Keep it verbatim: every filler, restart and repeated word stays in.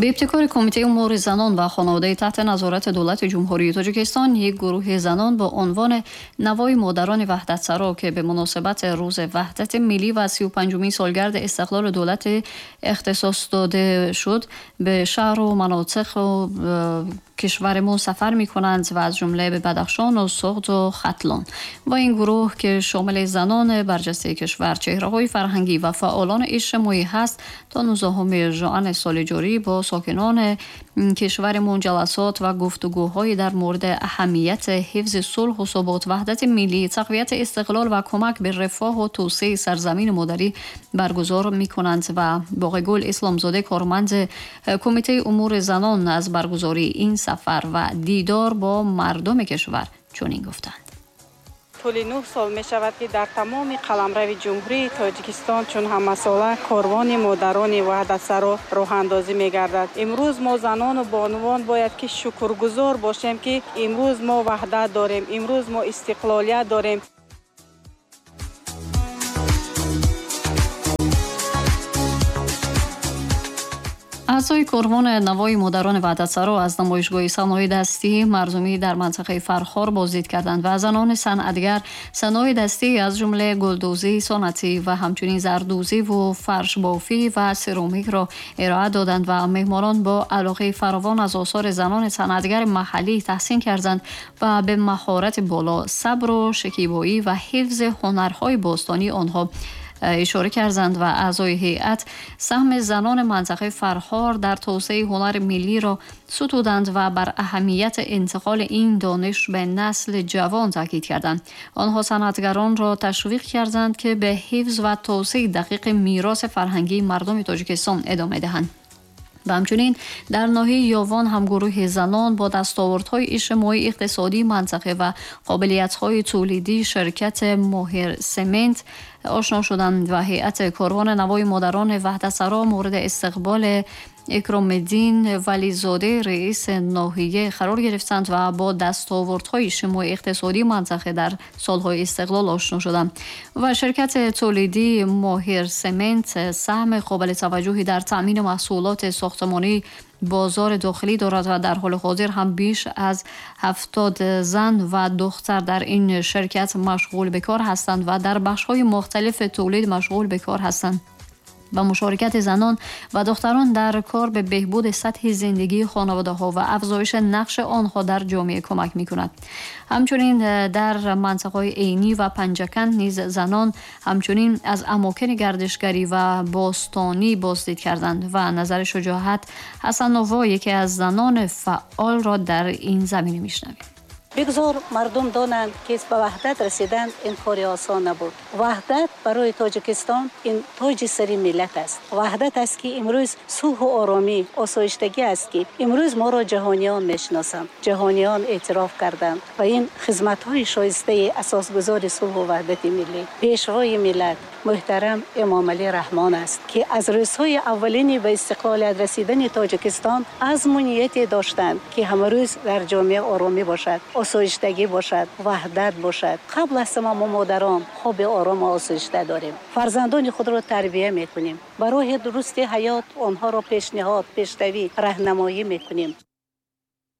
به ابتکار کمیته امور زنان و خانواده تحت نظارت دولت جمهوری تاجیکستان، یک گروه زنان با عنوان نوای مادران وحدت سرا که به مناسبت روز وحدت ملی و سی و پنجمین سالگرد استقلال دولت اختصاص داده شد، به شهر و مناطق و کشورمون سفر می کنند و از جمله به بدخشان و سغد و ختلان. و این گروه که شامل زنان برجسته کشور، چهره‌های فرهنگی و فعالان اجتماعی هست، تا نوزدهم ژوئن سال جاری با ساکنان کشورمون جلسات و گفتگوهای در مورد اهمیت حفظ صلح و ثبات، وحدت ملی، تقویت استقلال و کمک به رفاه و توسعه سرزمین مادری برگزار می کنند. و باقی گل اسلامزاده، کارمند کمیته امور زنان، از برگزاری این سفر و دیدار با مردم کشور چنین گفتند: тӯли нӯҳ сол мешавад, ки дар тамоми қаламрави Ҷумҳурии Тоҷикистон чун ҳамасола корвони модарони ваҳдатсаро роҳандозӣ мегардад. Имрӯз мо занону бонувон бояд ки шукргузор бошем, ки имрӯз мо ваҳдат дорем, имрӯз мо истиқлолият дорем. اعضای کاروان نوای مادران وحدتسرا از نمایشگاه صنایع دستی مردمی در منطقه فرخار بازدید کردند و زنان صنعتگر صنایع دستی از جمله گلدوزی سنتی و همچنین زردوزی و فرش بافی و سرامیک را ارائه دادند و مهمانان با علاقه فراوان از آثار زنان صنعتگر محلی تحسین کردند و به مهارت بالا، صبر و شکیبایی و حفظ هنرهای باستانی آنها اشاره کردند و اعضای هیئت سهم زنان منطقه فرخار در توسعه هنر ملی را ستودند و بر اهمیت انتقال این دانش به نسل جوان تاکید کردند. آنها صنعتگران را تشویق کردند که به حفظ و توسعه دقیق میراث فرهنگی مردم تاجیکستان ادامه دهند. و همچنین در ناحیه یاوان هم گروه زنان با دستاوردهای اجتماعی اقتصادی منطقه و قابلیت‌های تولیدی شرکت ماهر سمنت آشنا شدند و هیئت کاروان نوای مادران وحدتسرا مورد استقبال اکرام الدین ولیزاده، رئیس ناحیه، قرار گرفتند و با دستاوردهای اجتماعی اقتصادی منطقه در سالهای استقلال آشنا شدند. و شرکت تولیدی ماهر سمنت سهم قابل توجهی در تامین محصولات ساختمانی بازار داخلی دارد و در حال حاضر هم بیش از هفتاد زن و دختر در این شرکت مشغول به کار هستند و در بخش‌های مختلف تولید مشغول به کار هستند. و مشارکت زنان و دختران در کار به بهبود سطح زندگی خانواده ها و افزایش نقش آنها در جامعه کمک می کند. همچنین در منطقه عینی و پنجکند نیز زنان همچنین از اماکن گردشگری و باستانی بازدید کردند و نظر شجاعت حسن‌آوا، یکی از زنان فعال، را در این زمینه میشنویم. Бигзор мардум донанд, ки ба ваҳдат расидан ин кори осон набуд. Ваҳдат барои Тоҷикистон ин тоҷи сари миллат аст. Ваҳдат аст, ки имрӯз сулҳу оромӣ, осоиштагӣ аст, ки имрӯз моро ҷаҳониён мешиносанд, ҷаҳониён эътироф карданд ва ин хизматҳои шоистаи асосгузори сулҳу ваҳдати миллӣ, пешвои миллат муҳтарам Эмомалӣ Раҳмон аст, ки аз рӯзҳои аввалини ба истиқлолият расидани Тоҷикистон азму нияте доштанд, ки ҳамарӯз дар ҷомеа оромӣ бошад, осоиштагӣ бошад, ваҳдат бошад. Қабл аз ҳама мо модарон хоби орому осоишта дорем, фарзандони худро тарбия мекунем, ба роҳи дурусти ҳаёт онҳоро пешниҳод, пешравӣ, раҳнамоӣ мекунем.